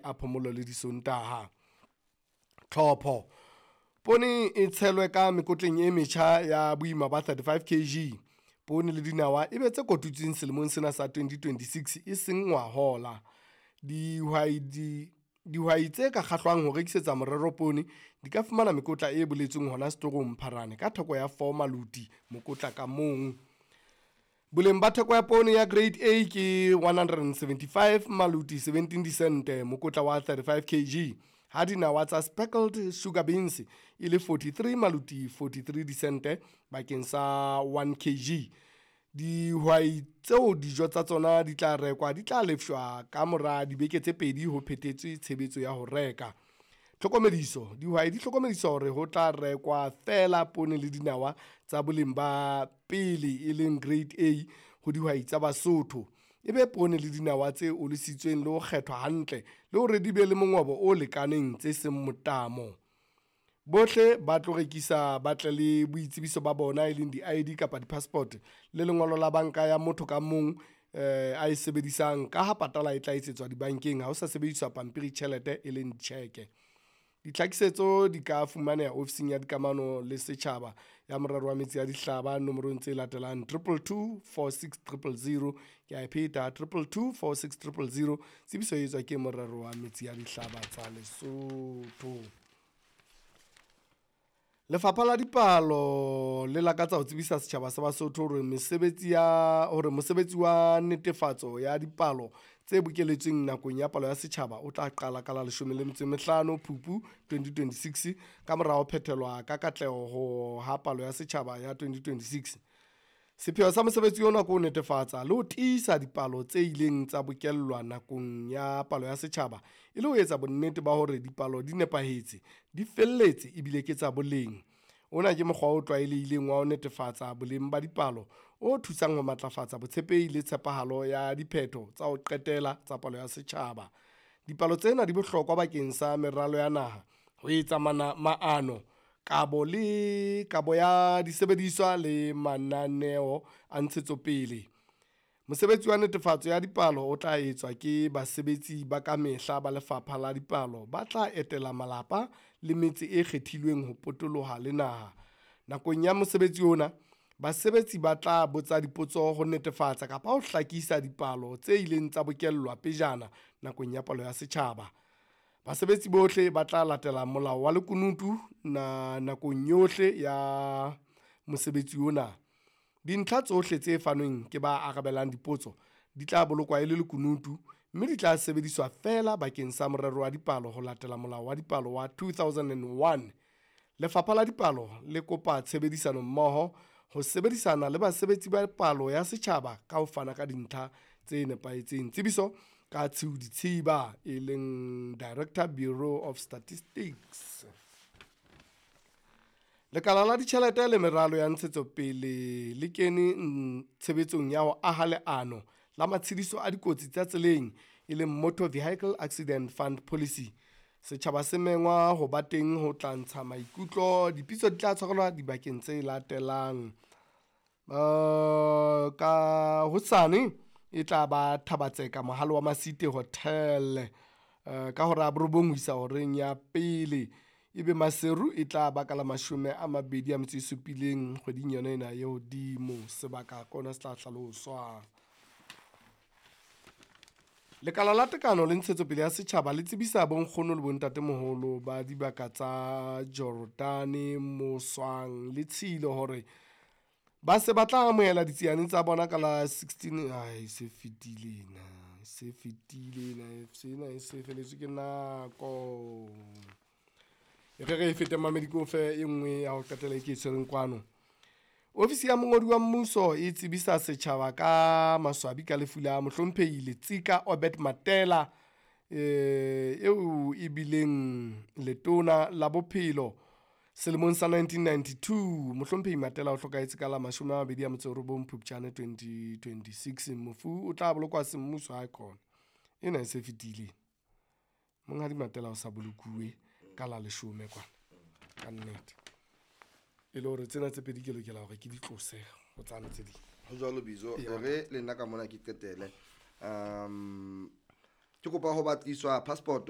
A phomolo le Disontaha. Tlhopho. Poone e tshelwe ka mekotleng e metjha ya boima ba 35 kg. Poone le dinawa e be tse kotutsweng selemong sena sa 2026 e seng ngwahola. Dihwai tse ka kgahlwang ho rekisetsa morero poone di ka fumana mekotla e boletsweng hona setorong Pharane ka theko ya 4 maloti mokotla ka mong. Boleng ba theko ya poone ya Grade A ke 175 maloti 17 disente mokotla wa 35 kg, ha dinawa tsa speckled sugar beans e le 43 maloti 43 disente bakeng sa 1 kg. Dihwai tseo dijo tsa tsona di tla rekwa di tla lefshwa ka mora dibeke tse pedi ho phethetswe tshebetso ya ho reka. Tlhokomediso. Dihwai di hlokomediswa hore ho tla rekwa feela poone le dinawa tsa boleng ba pele e leng Grade A ho dihwai tsa Basotho. E be poone le dinawa tse olositsweng le ho kgethwa hantle le hore di be le mongobo o lekaneng tse seng motamo. Bohle ba tlo rekisa ba tle le boitsebiso ba bona e leng di-ID kapa di-passport le lengolo la banka ya motho ka mong a e sebedisang ka ha patala e tla etsetswa dibankeng ha ho sa sebediswa pampiri tjhelete e leng tjheke. Ditlhakisetso di ka fumaneha ofising ya dikamano le setjhaba ya morero wa metsi a dihlaba nomorong tse latelang 222 46 000. Ke a e pheta 222 46 000. Tsebiso e etswa ke morero wa metsi a dihlaba tsa Lesotho. Lefapha la Dipalo le lakatsa ho tsebisa setjhaba sa Basotho hore mesebetsi ya hore mosebetsi wa netefatso ya dipalo tse bokeletsweng nakong ya palo ya setjhaba o tla qala ka la 15 Phupu 2026 ka mora ho phethelwa ka katleho ho ha palo ya setjhaba ya 2026. Sepheo sa mosebetsi ona ke ho netefatsa le ho tiisa dipalo tse ileng tsa bokellwa nakong ya palo ya setjhaba e le ho etsa bonnete ba hore dipalo di nepahetse, di felletse ebile ke tsa boleng. Ona ke mokgwa o tlwaelehileng wa ho netefatsa boleng ba dipalo o thusang ho matlafatsa botshepehi le tshepahalo ya diphetho tsa ho qetela tsa palo ya setjhaba. Dipalo tsena di bohlokwa bakeng sa meralo ya naha, ho etsa maano, kabo le kabo ya disebediswa le mananeo a ntshetsopele. Mosebetsi wa netefatso ya dipalo o tla etswa ke basebetsi ba ka mehla ba Lefapha la Dipalo ba tla etela malapa le metse e kgethilweng ho potoloha le naha. Nakong ya mosebetsi ona, basebetsi ba tla botsa dipotso ho netefatsa kapa ho hlakisa dipalo tse ileng tsa bokellwa pejana nakong ya palo ya setjhaba. Basebetsi bohle ba tla latela molao wa lekunutu nakong yohle ya mosebetsi ona. Dintlha tsohle tse fanweng ke ba arabelang dipotso di tla bolokwa e le lekunutu, mme di tla sebediswa feela bakeng sa morero wa dipalo ho latela Molao wa Dipalo wa 2001. Lefapha la Dipalo le kopa tshebedisano mmoho ho sebedisana le basebetsi ba palo ya setjhaba ka ho fana ka dintlha tse nepahetseng. Tsebiso ka Tshiu Ditshiba e leng Director Bureau of Statistics. Lekala la ditjhelete le meralo ya ntshetsopele le kene tshebetsong ya ho aha leano la matshediso a dikotsi tsa tseleng e leng Motor Vehicle Accident Fund Policy. Setjhaba se mengwa ho ba teng ho tla ntsha maikutlo. Dipitso di tla tshwarelwa dibakeng tse latelang. Ka hosane e tla ba Thabatseka Mohale wa Masite Hotel ka hora ya borobong ho isa horeng ya pele. Ebe Maseru e tla ba ka la 27 kgweding yona ena e hodimo. Sebaka kona se tla hlaloswa. Lekala la Tekano le Ntshetsopele ya Setjhaba le tsebisa bonkgono le bontatemoholo ba dibaka tsa Jordane, Moswang le Tshilo hore ba se ba tla amohela ditsiane tsa bona ka la 16 ai se fetile na se fetile na sena e se feletswe ke nako. E re re e fete mamedi ke o fe e nngwe ya ho qetela e ke e tshwereng kwano. Ofisi ya mongodi wa mmuso e tsebisa setjhaba ka maswabi ka lefu la mohlomphehi Letsika Obert Matela eo e bileng letona la bophelo selemong sa 1992. Mohlomphehi Matela o hlokahetse ka la 29 Phupjane 2026. Mofu o tla bolokwa semmuso ha khona. Ena e se fetile. Monghadi Matela o sa bolokuwe ka la 10 kwana. Ka nnete. E le hore tsena tse pedi ke lokela hore ke di tlose ho tsane tse ding. Ho jwalo Bizo, Ee, re le nna ka mona ke qetele. Ke kopa ho batliswa passport.